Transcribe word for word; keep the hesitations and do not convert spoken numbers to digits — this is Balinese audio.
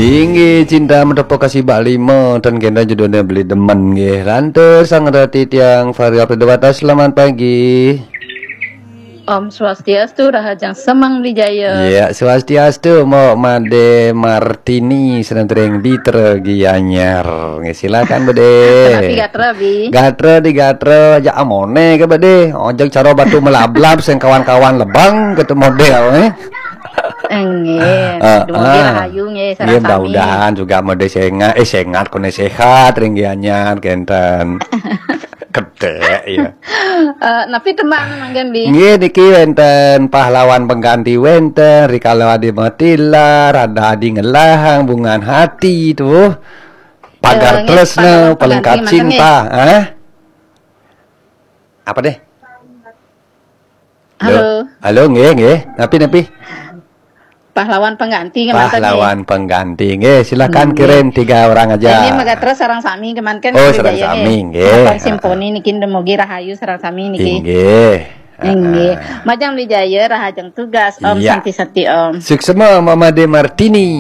Inggih, cinta menepuk kasih bak lima, ten kena judulnya beli demen nggih. Lantur sang rati tiang Fahri Abdul Dewata, selamat pagi. Om Swastiastu, Rahajeng Semeng Wijaya. Ya, swastiastu, Mbok Made Martini, senentring Bitra Gianyar. Nggih, silakan, Bede. Tapi gatra, Bi. Gatra di gatra, aja amone ke, Bede. Ojek cara batu melablab, sing kawan-kawan lebang, gitu model, eh. Enggih, Ah, dumugi ah. Rahayu nggih, Nggih, sareng sami. Mudah-mudahan juga mode sengat, eh, sengat, kone sehat, ring Gianyar, kenten. Kedek, ya. Eh, napi tembang manggen, Bi? Nggih, niki wenten pahlawan pengganti wenten, rikala adi matilar, ada adi ngelahang, bungan hati tuh. Pagar Eh, nggih, tresna, pahlawan pelengkap pengganti manten, cinta, eh? Apa deh? Halo. Halo, nggih, nggih. Napi, napi? Pahlawan pengganti nggih, manten, nggih. Pahlawan pengganti, nggih. Silakan Nggih. Kirim tiga orang aja. Ini mega terus sareng sami kemanten Oh, Wijaya sareng nggih. sami, nggih. Apa Ah, simponi niki dumugi Rahayu sareng sami niki. Inggih. Inggih. Ah, ah. Majeng Wijaya, Rahajeng tugas, Om. Iya. Santi-santi, Om. Suksma Mama De Martini.